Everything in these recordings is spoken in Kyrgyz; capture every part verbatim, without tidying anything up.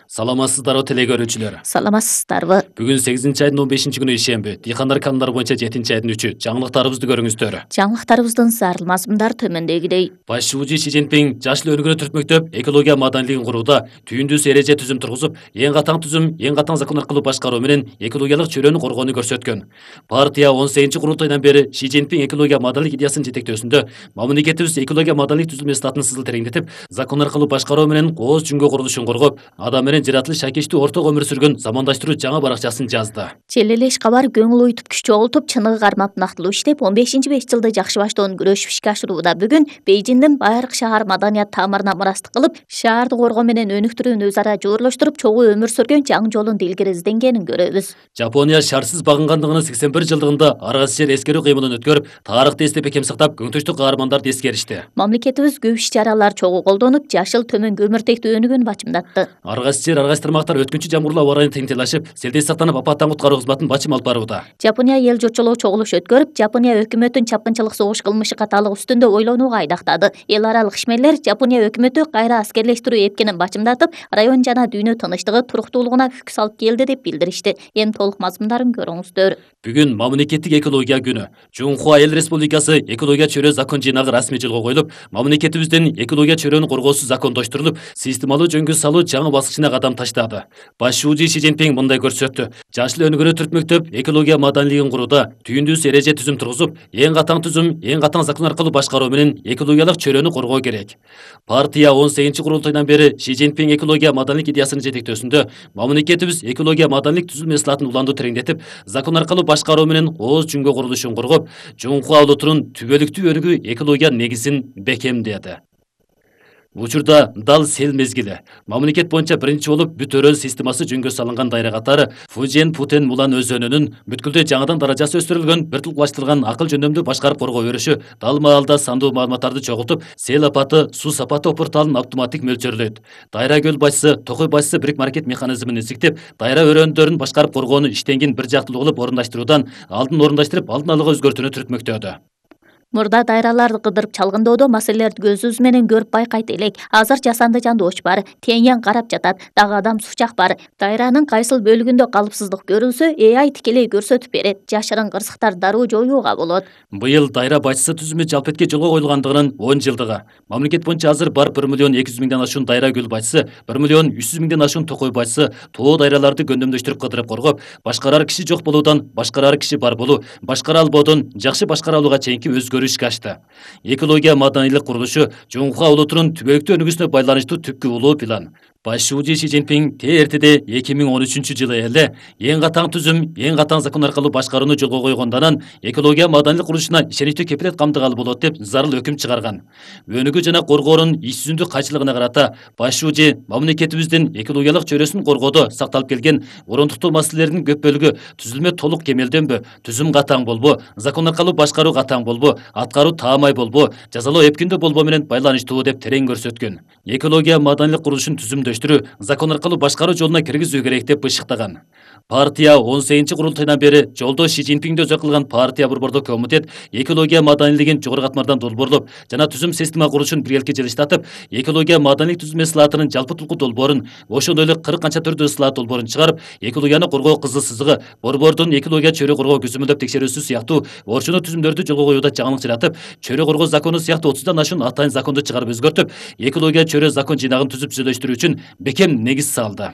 Саламатсыздарбы теле көрүүчүлөр. Саламатсыздарбы. Бүгүн сегизинчи айдын он бешинчи күнү ишемби. Дыйкандар канундар боюнча жетинчи айдын үчү. Жаңылыктарыбызды көрүңүздөр. Жаңылыктарыбыздын зарыл мазмундар төмөндөгүдөй. Баш шуучу Си Цзиньпин жаш эле өнүгүүнү түртмөктөп, экология маданилигин курууда түйүндүүсү эреже түзүм тургузуп, эң катаң түзүм, эң катаң закон аркылуу башкаруу менен экологиялык чөйрөнү коргоону көрсөткөн. Партия он сегизинчи курултайдан бери Си Цзиньпин экология маданилик идеясынын жетектөөсүндө мамлекетибиз экология маданилик түзүлмө статын сызыл тереңдетип, закон аркылуу башкаруу менен кооз жүнгө курулушун коргоп, адам менен жаратылыш шакиштүү орток өмүр сүргөн замандаштыруу жаңы баракчасын жазды. Желелеш кабар көңүл уютуп күч чогултуп, чыныгы кармап нактылуу иштеп, он бешинчи беш жылды жакшы баштоон күрөшүп ишке ашырууда. Бүгүн Бейжиңдин байыркы шаар маданият таамырына мурастык кылып, шаарды коргоо менен өнүктүрүүнү өз ара жогорулуштуруп, чогуу өмүр сүргөн жаңы жолун илгери изденгенин көрөбүз. Жапония шаарсыз багынгандыгынын сексен бир жылдыгында ар кайсы жер эскерүү кыймылын өткөрүп, тарыхты эстеп бекем сактап, көңтүштүү каармандарды эскеришти. Мамлекетибиз көп иш-чаралар чогуу колдонуп, жашыл төмөн көмүртектүү өнүгүүнү бачымдатты. Ар кайсы жер, ар кайсы тармактар өткүнчү жамгырлоо аба ырайына теңтелашып, селдей сактанып, апаттан куткаруу кызматын бачым алып барууда. Жапония эл журтчулугу чогулуш өткөрүп, Жапония өкмөтүн чапкынчылык согуш кылмышы каталыгы үстүндө ойлонууга айдактады. Эл аралык ишмерлер Жапония өкмөтү кайра аскерлештирүү эпкенин бачымдатып, район жана дүйнө тынчтыгы, туруктуулугуна күк салып келди деп билдиришти. Эми толук мазмундарын көрүңүздөр. Бүгүн мамлекеттик экология күнү. Жунхуа Эл Республикасы экология чөйрө закон жыйнагы расмий жолго коюлуп, мамлекетибиздин экология чөйрөнү коргоосу закондоштурулуп, системалуу жөнгө салуу жаңы баскычына кадам таштады. Баш шуучу Си Цзиньпин мындай көрсөттү. Жаш эле өнүгүүнү түртмөктөп, экология маданилигин курууда түйүндүүсү эреже түзүм тургузуп, эң катаң түзүм, эң катаң закон аркылуу башкаруу менен экологиялык чөйрөнү коргоо керек. Партия он сегизинчи курултайдан бери Си Цзиньпин экология маданилик идеясынын жетектөөсүндө мамлекетибиз экология маданилик түзүлмө слатын уланды тереңдетип, закон аркылуу башкаруу менен кооз жүнгө курулушун коргоп, Жунхуа улутунун түбөлүктүү өнүгүү экология негизин бекемдеди. Учурда дал сел мезгили. Мамлекет боюнча биринчи болуп бүт өрөөл системасы жөнгө салынган дайра катары Фужен Путен Мулан өзөнүнүн бүткүлдө жаңыдан даражасы өстүрүлгөн, бир тулкулаштырылган акыл жөндөмдүү башкарып коргоо өрүшү дал маалда сандуу маалыматтарды чогултуп, сел апаты, суу сапаты опурталын автоматтик мөлчөрлөйт. Дайра көл башчысы, Токой башчысы бирик маркет механизмин изиктеп, дайра өрөөндөрүн башкарып коргоону иштенгин бир жактылуу кылып орундаштыруудан алдын орундаштырып, алдын алууга өзгөртүүнү түртмөктөдү. Мурда дайраларды кыдырып чалгындоодо маселелерди көзүбүз менен көрүп байкайт элек. Азыр жасанды жандооч бар, теңен карап жатат, дагы адам сучак бар. Дайранын кайсыл бөлүгүндө калыпсыздык көрүлсө, Э Ай тикелей көрсөтүп берет. Жашырын кырсыктар дароо жоюуга болот. Быйыл дайра башчысы түзүмү жалпетке жолго коюлгандыгынын он жылдыгы. Мамлекет боюнча азыр бар бир миллион эки жүз миңден ашуун дайра көл башчысы, бир миллион үч жүз миңден ашуун Токой башчысы тоо дайраларды гөндөмдөштүрүп кыдырып коргоп, башкарар киши жок болуудан башкарар киши бар болуу, башкара албоодон жакшы башкара алууга чейинки өзгөрүү ишке ашты. Экология маданилик курулушу Жунхуа улутунун түбөлүктүү өнүгүүсүнө байланыштуу түпкү улуу план. Баш шуучу Си Цзиньпин эртеде эки миң он үчүнчү жылы эле эң катаң түзүм, эң катаң закон аркылуу башкарууну жолго койгондон анан экология маданилик курулушуна ишеничтүү кепилет камдыгалы болот деп зарыл өкүм чыгарган. Өнүгүү жана коргоонун иш жүзүндүү кайчылыгына карата баш шуучу мамлекетибиздин экологиялык чөйрөсүн коргоодо сакталып келген орундуктуу маселелердин көп бөлүгү түзүлмө толук кемелденбө, түзүм катаң болбо, закон аркылуу башкаруу катаң болбо, аткаруу таамай болбо, жазалоо эпкиндүү болбо менен байланыштуу деп терең көрсөткөн. Экология маданилик курулушун түзүмдөштүрүү, закон аркылуу башкаруу жолуна киргизүү керек деп бышыктаган. Партия он сегизинчи курултайдан бери жолдош Си Цзиньпинди өзөк кылган партия борбордук комитет экология маданилигин жогору катмардан долбоорлоп жана түзүм система курулушун биргеликке жылыштатып, экология маданилик түзүлмө слатынын жалпы тулку долбоорун, ошондой эле кырк канча түрдүү слат долбоорун чыгарып, экологияны коргоо кызыл сызыгы, борбордун экология чөйрө коргоо көзөмөлдөп текшерүүсү сыяктуу орчуну түзүмдөрдү жолго коюуда жаңылык жаратып, чөйрө коргоо закону сыяктуу отуздан ашуун атайын законду чыгарып өзгөртүп, экология чөйрө закон жыйнагын түзүп түзүлөштүрүү үчүн бекем негиз салды.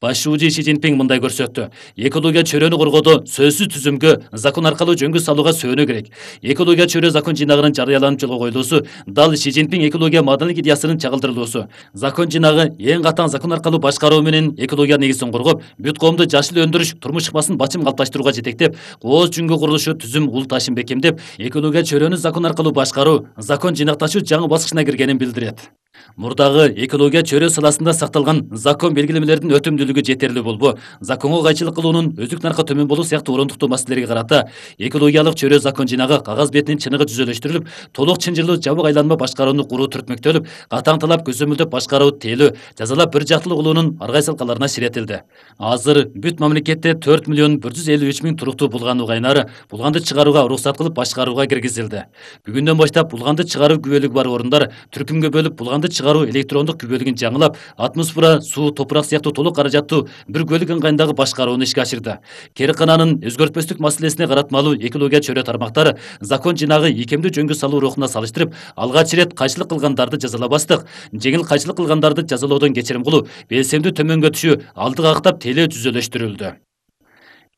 Баш шуучу Си Цзиньпин мындай көрсөттү. Экология чөйрөнү коргоодо сөзсүз түзүмгө, закон аркылуу жөнгө салууга сөөнүү керек. Экология чөйрө закон жыйнагынын жарыяланып жолго коюлуусу дал Си Цзиньпин экология маданилик идеясынын чагылдырылуусу. Закон жыйнагы эң катаң закон аркылуу башкаруу менен экология негизин коргоп, бүт коомду жашыл өндүрүш, турмуш сапасын бачым калыпташтырууга жетектеп, кооз жүнгө курулушу түзүм улуташын бекемдеп, экология чөйрөнү закон аркылуу башкаруу, закон жыйнакташуу жаңы баскычына киргенин билдирет. Мурдагы экология чөйрө саласында сакталган закон белгилемелердин өтүмдүүлүгү жетерлик болбо, законго кайчылык кылуунун өздүк наркы төмөн болуу сыяктуу орундуктуу маселелерге карата экологиялык чөйрө закон жыйнагы кагаз бетинин чыныгы түзөлөштүрүлүп, толук чынжырлуу жабык айланма башкарууну куруу түртмөктөлүп, катаң талап көзөмөлдөп башкаруу тейлөө, жазалап бир жактылуу кылуунун ар кайсы алкаларына ширетилди. Азыр бүт мамлекетте төрт миллион бир жүз элүү үч миң туруктуу булган угайнары булганды чыгарууга уруксат кылып башкарууга киргизилди. Бүгүндөн баштап булганды чыгаруу күбөлүгү бар орундар түркүмгө бөлүп булганды кырманды чыгаруу электрондук күбөлүгүн жаңылап, атмосфера, суу, топурак сыяктуу толук каражаттуу бир көлүк ыңгайындагы башкарууну ишке ашырды. Керкананын өзгөртпөстүк маселесине каратмалуу экология чөйрө тармактары закон жинагы ийкемдүү жөнгө салуу рухуна салыштырып, алгач ирет кайчылык кылгандарды жазалабастык, жеңил кайчылык кылгандарды жазалоодон кечирим кылуу, белсемдүү төмөнгө түшүү алдыга кактап теле түзөлөштүрүлдү.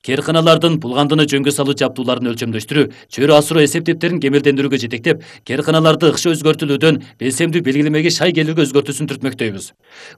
Керканалардын булгандыны жөнгө салуу жабдууларын өлчөмдөштүрүү, чөйрө асыруу эсептептерин кемелдендирүүгө жетектеп, керканаларды ыкшы өзгөртүлүүдөн белсемдүү белгилемеге шай келүүгө өзгөртүүсүн түртмөктөйбүз.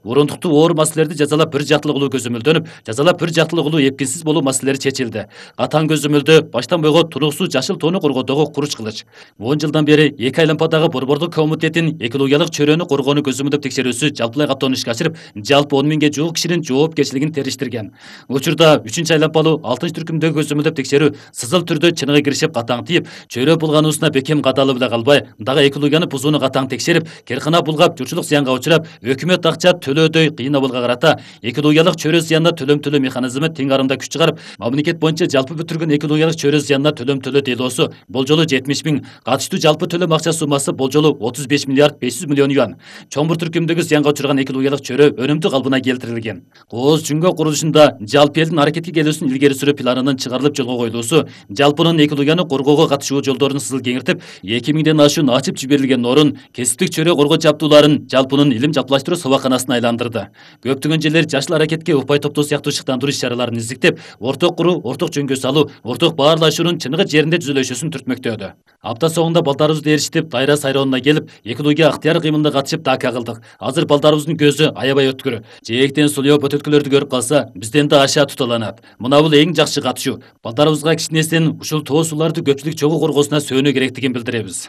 Урундуктуу оор маселелерди жазалап бир жактылуу кылуу көзөмөлдөнүп, жазалап бир жактылуу кылуу эпкинсиз болуу маселелери чечилди. Катаң көзөмөлдө баштан бойго туруктуу жашыл тоону коргоодогу куруч кылыч. он жылдан бери эки айлампадагы борбордук комитеттин экологиялык чөйрөнү коргоону көзөмөлдөп текшерүүсү жалпылай каттоону ишке ашырып, жалпы он миңге жуук кишинин жоопкерчилигин териштирген. Учурда үчүнчү айлампалуу алтынчы түркүмдөгү көзөмөлдөп текшерүү сызыл түрдө чыныгы киришип катаң тийип, чөйрө булгануусуна бекем кадалып эле калбай, дагы экологияны бузууну катаң текшерип, керкана булгап журчулук зыянга учурап, өкмөт акча төлөөдөй кыйын абалга карата экологиялык чөйрө зыянына төлөм төлөө механизми тең арымда күч чыгарып, мамлекет боюнча жалпы бүтүргөн экологиялык чөйрө зыянына төлөм төлөө делоосу болжолу жетимиш миң, катыштуу жалпы төлөм акча суммасы болжолу отуз беш миллиард беш жүз миллион юан. Чоң бир түркүмдөгү зыянга учурган экологиялык чөйрө өнүмдүү калыбына келтирилген. Кооз жүнгө курулушунда жалпы элдин аракетке келүүсүн илгери сүрүү планынын чыгарылып жолго коюлуусу, жалпынын экологияны коргоого катышуу жолдорун сызыл кеңиртип, эки миңден ашуун ачып жиберилген орун кесиптик чөйрө коргоо жабдууларын жалпынын илим жалпылаштыруу сабаканасына айландырды. Көптөгөн жерлер жашыл аракетке упай топтоо сыяктуу шыктандыруу иш-чараларын издиктеп, орток куруу, орток жөнгө салуу, орток баарлашуунун чыныгы жеринде түзүлүшүн түртмөктөдү. Апта соңунда балдарыбызды ээрчитип, Дайра сайроонуна келип, экология ыктыяр кыймылына катышып дака кылдык. Азыр балдарыбыздын көзү аябай өткүр. Жээктен сулуу бөтөлкөлөрдү көрүп калса, бизден да ашаа туталанат. Мына бул эң жакшы катышуу. Балдарыбызга кичинесинен ушул тоо суларды көпчүлүк чогуу коргоосуна сөөнүү керектигин билдиребиз.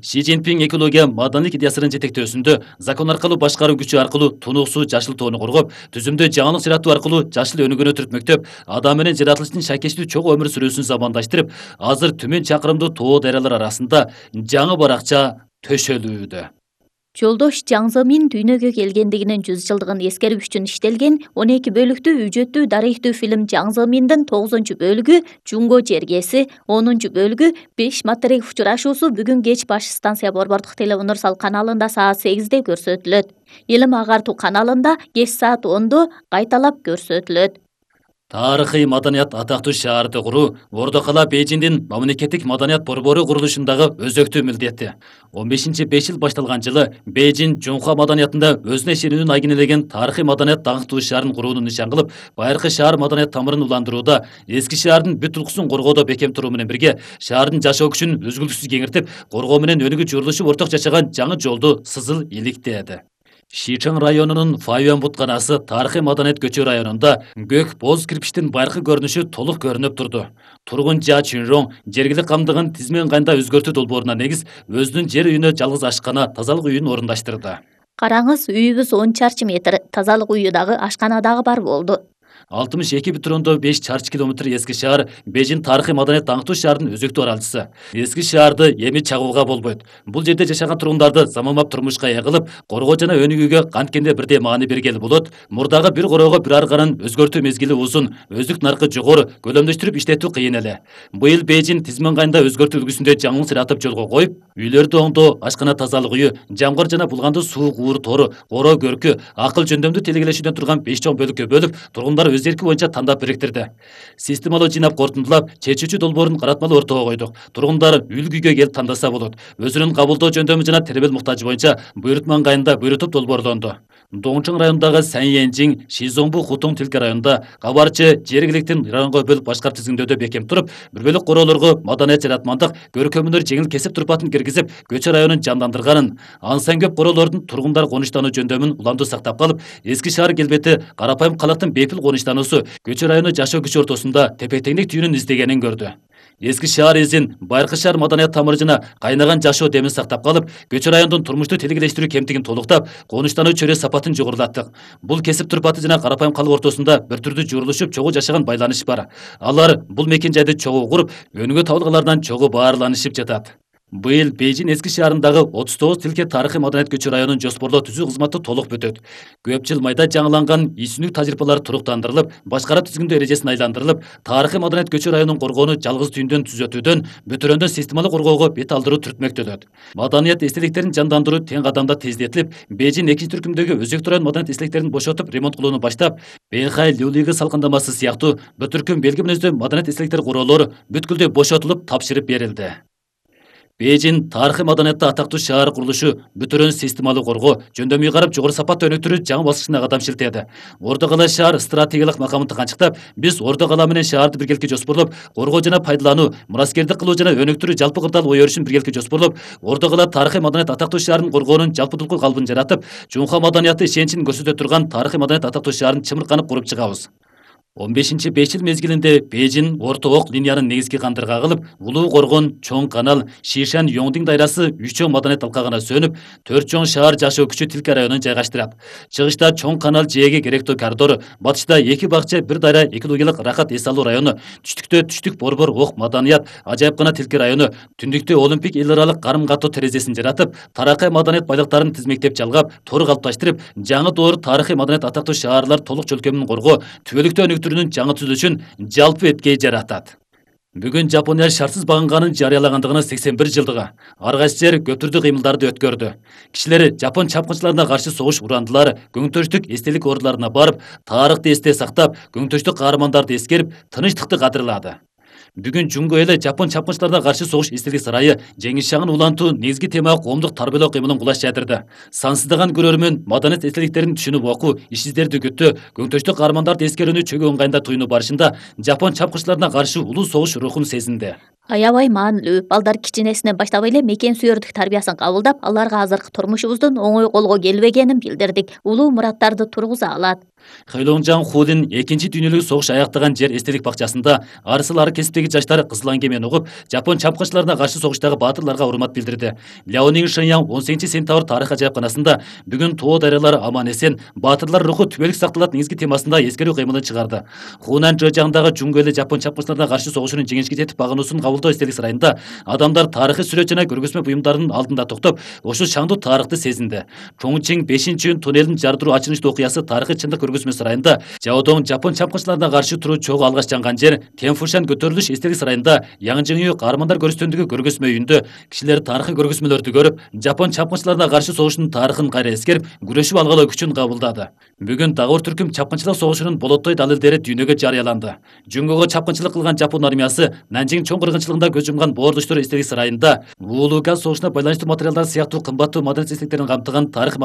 Ши Цзиньпин экология маданийлик идеясынын жетектөөсүндө закон аркылуу башкаруу күчү аркылуу тунуксуу жашыл тоону коргоп, түзүмдө жаңылык жаратуу аркылуу жашыл өнүгүүнү түртмөктөп, адам менен жаратылыштын шайкештүү чогуу өмүр сүрүүсүн замандаштырып, азыр түмөн чакырымдуу тоо дайралар арасында жаңы баракча төшөлүүдө. Жолдош Жаң Зымин дүйнөгө келгендигинин жүз жылдыгын эскерип үчүн иштелген он эки бөлүктүү үжөттүү тарыхтуу фильм Жаң Зыминдин тогузунчу бөлүгү Жунго жергеси, онунчу бөлүгү беш материк учурашуусу бүгүн кеч Баш станция борбордук телеуниверсал каналында саат сегизде көрсөтүлөт. Илим агартуу каналында кеч саат ондо кайталап көрсөтүлөт. Тарыхый маданият атактуу шаарды куруу Ордо кала Бейжиңдин мамлекеттик маданият борбору курулушундагы өзөктүү милдети. он бешинчи беш жыл башталган жылы Бейжиң Жунхуа маданиятында өзүнө ишенүүнүн айгинелеген тарыхый маданият даңктуу шаарын курууну нишан кылып, байыркы шаар маданият тамырын уландырууда, эски шаардын бүт улкусун коргоодо бекем туруу менен бирге, шаардын жашоо күчүн үзгүлтүксүз кеңиртип, коргоо менен өнүгүү журулушуп орток жашаган жаңы жолду сызыл иликтээди. Шичаң районунун Файюан бутканасы тарыхый маданият көчө районунда көк боз кирпичтин байыркы көрүнүшү толук көрүнүп турду. Тургун Жа Чүнроң жергилик камдыгын тизме ыңгайында өзгөртүү долбооруна негиз өзүнүн жер үйүнө жалгыз ашкана тазалык үйүн орундаштырды. Караңыз, үйүбүз он чарчы метр, тазалык үйү дагы, ашкана дагы бар болду. алтымыш эки бүтүн ондон беш чарчы километр эски шаар Бейжиң тарыхый маданият даңктуу шаардын өзөктүү аралчысы. Эски шаарды эми чагууга болбойт. Бул жерде жашаган тургундарды заманбап турмушка ээ кылып, коргоо жана өнүгүүгө канткенде бирдей маани бергели болот. Мурдагы бир короого бир арганын өзгөртүү мезгили узун, өздүк наркы жогору, көлөмдөштүрүп иштетүү кыйын эле. Быйыл Бейжиң тизме ыңгайында өзгөртүү үлгүсүндө жаңылык жаратып жолго коюп, үйлөрдү оңдоо, ашкана тазалык үйү, жамгыр жана булганды суу куур тору, коро көркү, акыл жөндөмдүү тилгелешүүдөн турган беш чоң бөлүккө бөлүп, тургундар өз эрки боюнча тандап бириктирди. Системалуу жыйнап кортундулап, чечүүчү долбоорун каратмалуу ортого койдук. Тургундар үй күйгө келип тандаса болот. Өзүнүн кабылдоо жөндөмү жана тербел муктажы боюнча буйрутма ыңгайында буйрутуп долбоорлонду. Доңчоң районундагы Саньенжиң, Шизоңбу Хутоң Тилке районунда кабарчы жергиликтин районго бөлүп башкарып тизгиндөөдө бекем туруп, бир бөлөк короолорго маданият жаратмандык, көркөмүнөр жеңил кесип турпатын киргизип, көчө районун жандандырганын, ансан көп короолордун тургундар конуштануу жөндөмүн уламдуу сактап калып, эски шаар келбети карапайым калктын бейпил конуштануусу көчө району жашоо күчү ортосунда тепе-теңдик түйүнүн издегенин көрдү. Эски шаар изин, байыркы шаар маданият тамыры жана кайнаган жашоо демин сактап калып, көчө райондун турмушту тилгелештирүү кемтигин толуктап, конуштануу чөйрө сапатын жогорулаттык. Бул кесип турпаты жана карапайым калк ортосунда бир түрдүү журулушуп, чогуу жашаган байланыш бар. Алар бул мекен жайды чогуу куруп, өнүгүү табылгалардан чогуу баарланышып жатат. Быйыл Бейжин эски шаарындагы отуз тогуз тилке тарыхый маданият көчү районун жоспорлоо түзүү кызматы толук бүтөт. Көп жыл майда жаңыланган ийсүнүк тажрыйбалар туруктандырылып, башкара түзгүндө эрежесин айландырылып, тарыхый маданият көчү районун коргоону жалгыз түйүндөн түзөтүүдөн бүтүрөндөн системалык коргоого бет алдыруу түртмөктөнөт. Маданият эстеликтерин жандандыруу тең кадамда тездетилип, Бейжин экинчи түркүмдөгү өзөктүү район маданият эстеликтерин бошотуп, ремонт кылууну баштап, Бэйхай Люлиги салкындамасы сыяктуу бүт түркүм белги мүнөздүү маданият эстеликтер куроолору бүткүлдөй бошотулуп, тапшырып берилди. Бейжин тарыхый маданиятты атактуу шаар курулушу бүтүрөн системалык коргоо, жөндөмүй карап жогору сапатта өнүктүрүү жаңы баскычына кадам шилтеди. Ордо кала шаар стратегиялык макамын канчыктап, биз Ордо кала менен шаарды биргеликке жоспорлоп, коргоо жана пайдалануу, мураскердик кылуу жана өнүктүрүү жалпы кырдаал ой өрүшүн биргеликке жоспорлоп, Ордо кала тарыхый маданият атактуу шаарын коргоонун жалпыдулку калыбын жаратып, жумха маданияты ишеничин көрсөтө турган тарыхый маданият атактуу шаарын чымырканып куруп чыгабыз. он бешинчи беш жыл мезгилинде Бейжин Орто ок линиянын негизги кандырга кылып, Улуу Коргон, Чоң канал, Шишан Йоңдиң дайрасы үч чоң маданият алкагына сөнүп, төрт чоң шаар жашоо күчү тилке районун жайгаштырат. Чыгышта Чоң канал жээге керектүү коридор, батышта эки бакча, бир дайра, экологиялык рахат эс алуу району, түштүктө түштүк борбор ок маданият, ажайыпкана тилке району, түндүктө Олимпик эл аралык карым-каттоо терезесин жаратып, таракай маданият байлыктарын тизмектеп жалгап, тор калыпташтырып, жаңы доор тарыхый маданият атактуу шаарлар толук чөлкөмүн коргоо, түбөлүктүү өнүктүрүүнүн жаңы түзүлүшүн жалпы эткей жаратат. Бүгүн Жапония шартсыз багынганын жарыялагандыгынын сексен бир жылдыгы. Ар кайсы жер көптүрдүү кыймылдарды өткөрдү. Кишилер жапон чапкынчыларына каршы согуш урандылары, көңтөштүк эстелик ордуларына барып, тарыхты эсте сактап, көңтөштүк каармандарды эскерип, тынычтыкты кадырлады. Бүгүн Жунго эли жапон чапкынчыларына каршы согуш эстелик сарайы жеңиш шагын улантуу негизги темага коомдук тарбиялоо кыймылын кулаш жадырды. Сансыздаган көрөрмөн маданият эстеликтерин түшүнүп окуу, иш издерди күттү, көңтөштүк каармандарды эскерүүнү чөгөө ыңгайында туюну барышында жапон чапкынчыларына каршы улуу согуш рухун сезинди. Аябай маанилүү, балдар кичинесинен баштап эле мекен сүйөрдүк тарбиясын кабылдап, аларга азыркы турмушубуздун оңой колго келбегенин билдирдик. Улуу мураттарды тургуза алат. Хэйлоңжан Хулин экинчи дүйнөлүк согуш аяктаган жер эстелик бакчасында арысыл ар кесиптеги жаштар кызыл аңгемен угуп, жапон чапкынчыларына каршы согуштагы баатырларга урмат билдирди. Ляонин Шэньян он сегизинчи сентябрь тарых ажайыпканасында бүгүн тоо дайралары аман эсен, баатырлар руху түбөлүк сакталат негизги темасында эскерүү кыймылын чыгарды. Хунан Жожаңдагы Жунго эли жапон чапкынчыларына каршы согушунун жеңишке жетип багынуусун кабылдоо эстелик сарайында адамдар тарыхый сүрөт жана көргөзмө буюмдарынын алдында токтоп, ошол шаңдуу тарыхты сезинди. Чоңчиң бешинчи туннелин жардыруу ачылыштуу окуясы тарыхый чындык көргөзмө сарайында, Жаодоң жапон чапкынчыларына каршы туруу чогуу алгаш жанган жер, Тенфушан көтөрүлүш эстелик сарайында Яңжыңю каармандар көрүстөндүгү көргөзмө үйүндө кишилер тарыхый көргөзмөлөрдү көрүп, жапон чапкынчыларына каршы согушунун тарыхын кайра эскерип, күрөшүп алгалоо күчүн кабылдады. Бүгүн Дагур түркүм чапкынчылык согушунун болоттой далилдери дүйнөгө жарыяланды. Жунгого чапкынчылык кылган жапон армиясы Нанжиң чоң кыргынчылыгында көз жумган боордуштар эстелик сарайында Вуулуга согушуна байланыштуу материалдар сыяктуу кымбаттуу маданият эстеликтерин камтыган тарых